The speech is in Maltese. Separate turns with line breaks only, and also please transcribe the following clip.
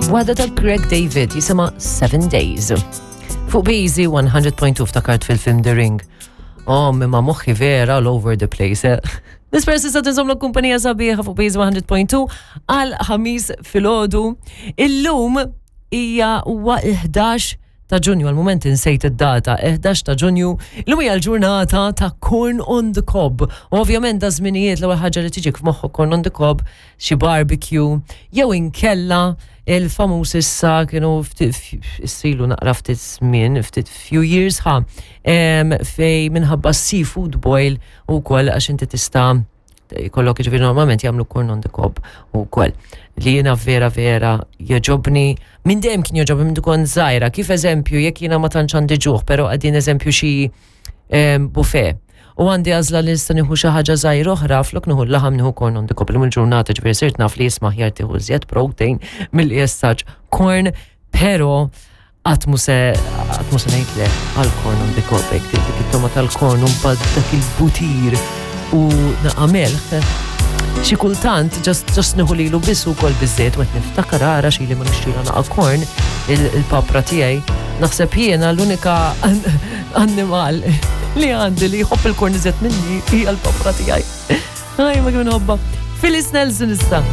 Waħda ta' Craig David jisimha Seven Days. Fuq Beezy 100.2 ftakart fil-film The Ring. Oh, imma moħħi vera all over the place. Eh? Nispera s'issa tinżomm l-kumpanija sabiħa fuq Beezy 100.2 għal ħamis filgħodu. Illum hija huwa 11 ta' Ġunju, għal-moment insejt id-data, 11 ta' Ġunju, illum hija l-ġurnata ta' Corn on the Cob. U ovvjament da' żminijiet l-ewwel ħaġa li tiġik f'moħħok Corn on the Cob, xi barbecue, jew inkella il-famuż issa kienu issilu naqra ftit żmien, ftit few years ħa, fej minħabba seafood boil u koll għax inti tista' jkollok ġifieri normalment jagħmlu corn on the cob ukoll li jiena vera vera jogħġobni minn dejjem kien jogħġobni minn kont żgħira kif eżempju jekk jiena ma tantx għandi ġuħ però qegħdin eżempju xi buffet u għandi għażla li nista' nieħu xi ħaġa żgħira oħra flok nieħu l-laħam nieħu corn on the cob illum il-ġurnata ġifieri sirt naf li jisma' aħjar tieħu iżjed protein milli jessaġ corn però Qatt mhu se qatt mhu se ngħid le għal corn on the cob hekk dik it-toma tal-corn u mbagħad dak il-butir u naqa' melħ. Xi kultant just just nieħu lilu biss ukoll biżżejjed u qed niftakar ara xi li ma nixtrila naqa' corn il-papra tiegħi. Naħseb jiena l-unika annimal li għandi li jħobb il-corn iżjed minni hija l-papra tiegħi. Aj, ma kemm inħobbha. Phyllis Nelson issa.